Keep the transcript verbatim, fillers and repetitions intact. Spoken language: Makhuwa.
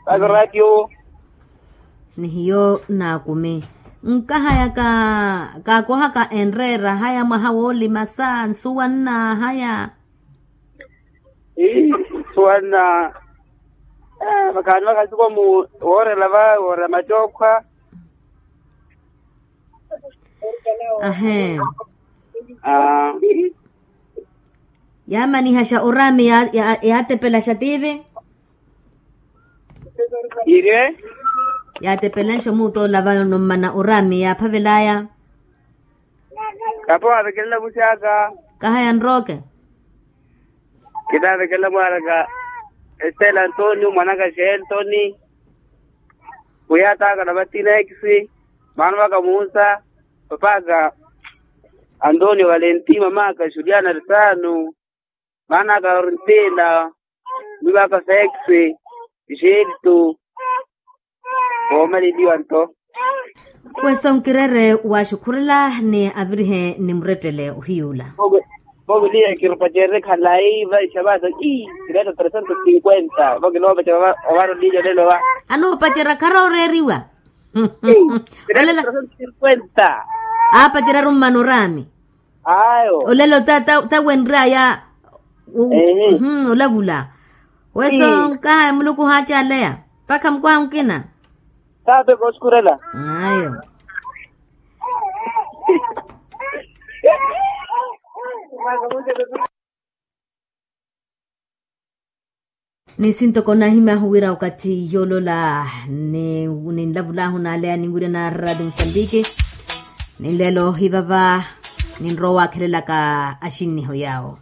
Aka ratio. Ni hiyo naakumi. Nkahaya ka kaakohaka enreera haya mwaha woolima sa nsuwa nna haya. Ii, nsuwa nna. Vakhaani vakhasikwa mu woorela va woorela macookhwa. Ahee. Yaamanihasha oraami yaatepelaxa tiivi. Ire. Yaatepelanxa omuuta olava nommana oraami yaaphavelaya. Kapo waavekelela vuxaka. Kahaya nrooke. Kinaavekelela mwaaraka. Estela antonio mwanaka xeeltoni. Kuyaataka na vatinekisi. Maana vaka muusa. Papaka. Antonio valenti mamaka juliana risano. Maana aka orintila. Mivaka feksi. Jiltu. Woomaleliwa nto. Kweso nkirere waxukhurela ni avirihe ni murettele ohiyuula. Voviliye kirupacerye khalayi vaixavasa. Ii, kiretta trecentos cinquenta vo kinoopacerya. Ovarolilya lelo va. Anoopacerya kharooreeriwa. Trecentos cinquenta. Aapacerya arummana oraami. Ayo. Olelo ta ta ta wenraya. Olavula. Weso nkahaya muluku haacaaleya. Mpakha mukwaha mukina. Taate kooskurela. Ayo. Ni sintoko nahimyahu wira okathi yoolola ni ninlavulahu naaleya ninwirya na radio musambiki. Ni nlelo hivava ninrowa waakhelelaka axinniho yaawo.